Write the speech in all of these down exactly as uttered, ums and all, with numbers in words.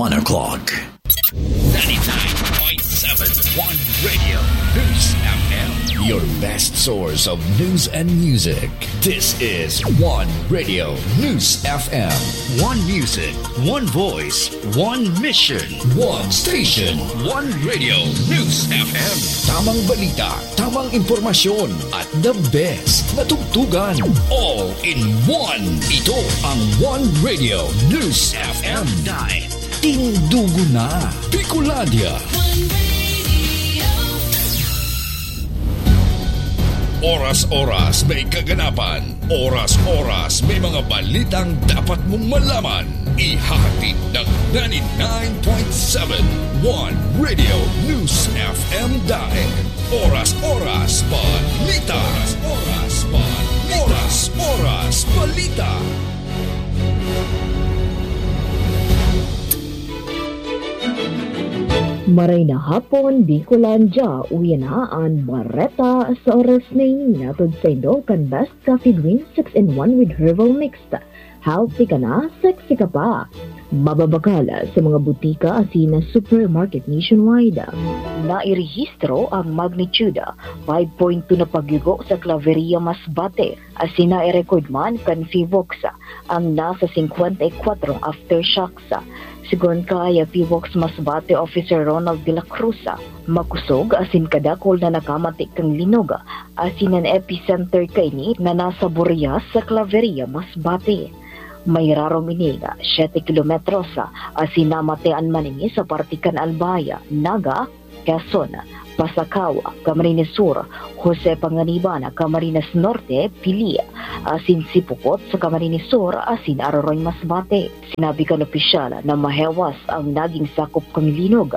One o'clock. Ninety-nine point seven One Radio News F M. Your best source of news and music. This is One Radio News F M. One music, one voice, one mission. One station. One Radio News F M. Tamang balita, tamang impormasyon, at the best na tugtugan. All in one. Ito ang One Radio News F M. Dai, tindugo na. Bicolandia. Oras-oras may kaganapan. Oras-oras may mga balitang dapat mong malaman. Ihahatid ng ninety-nine point seven One Radio News F M Daet. Oras-oras balita. Oras-oras balita. Oras-oras balita. Maray na hapon, Bicolandia. Uya na an bareta sa oras na ini. Hatod saindo kan Best Coffee Green six-in-one with Herbal Mix. Healthy ka na, sexy ka pa. Mababakal sa mga butika asin supermarket nationwide. Nairehistro ang magnitude five point two na pagyugo sa Claveria, Masbate, asin nai-record man kan PHIVOLCS ang nasa singkwenta y kwatro aftershocks. Sigon kay PHIVOLCS Masbate Officer Ronald de la Cruz, makosog asin kadakul na nakamati kan linog, asin an epicenter kaini na nasa Burias sa Claveria, Masbate. May rarom ini na siyete kilometros, asin namatian man ini sa parte kan Albay, Naga, Quezon, Pasacao, Camarines Sur, Jose Panganiban, Camarines Norte, Pili, asin Sipocot sa Camarines Sur, asin Aroroy, Masbate. Sinabi kan opisyal na mahewas ang naging sakop kan linog,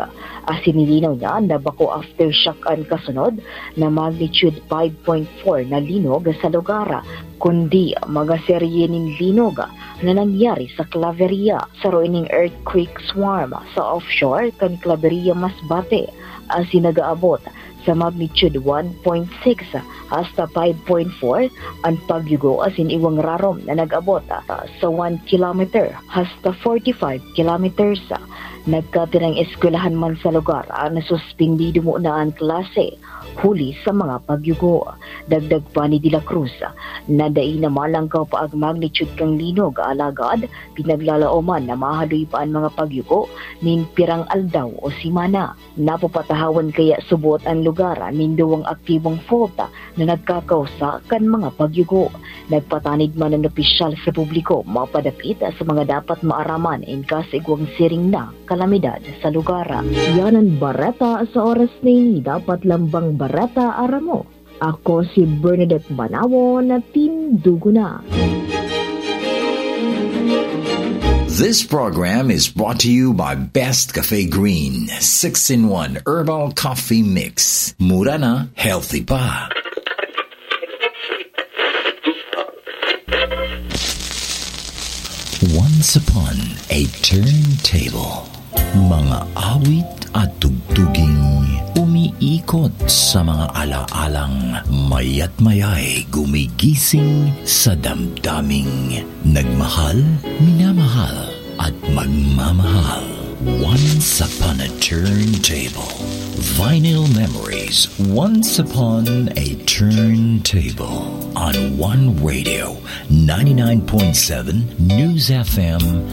asin nilinaw niya na bako aftershock an kasunod na magnitude five point four na linog sa lugar, kundi mga serye nin linog na nangyari sa Claveria. Saro ining earthquake swarm sa offshore kan Claveria, Masbate, asin nag-aabot sa magnitude one point six hasta five point four an pagyugo asin igwang rarom na nag-abot sa one kilometer hasta forty-five kilometers. Nagkatirang eskwelahan man sa lugar na suspindido muna an klase huli sa mga pagyugo. Dagdag pa ni De La Cruz na dai na malangkaw pa ang magnitude kan linog, alagad pinaglalaoman na mahaloy pa an mga pagyugo nin pirang aldaw o semana. Napapatahawan kaya subot an lugar nin duwang aktibong fault na nagkakausa kan mga pagyugo. Nagpatanid man an opisyal sa publiko mapadapit sa mga dapat maaraman in kaso igwang siring na kalamidad sa lugar. Yan an bareta sa oras na ini. Dapat lambang bareta aram mo. Ako si Bernadette Banawon na tindugo na. This program is brought to you by Best Cafe Green, six-in-one Herbal Coffee Mix. Mura na, healthy pa. Once upon a turntable. Mga awit at tugtuging umiikot sa mga alaalang mayat maya'y gumigising sa damdaming nagmahal, minamahal, at magmamahal. Once upon a turntable. Vinyl memories. Once upon a turntable. On One Radio, ninety-nine point seven News F M.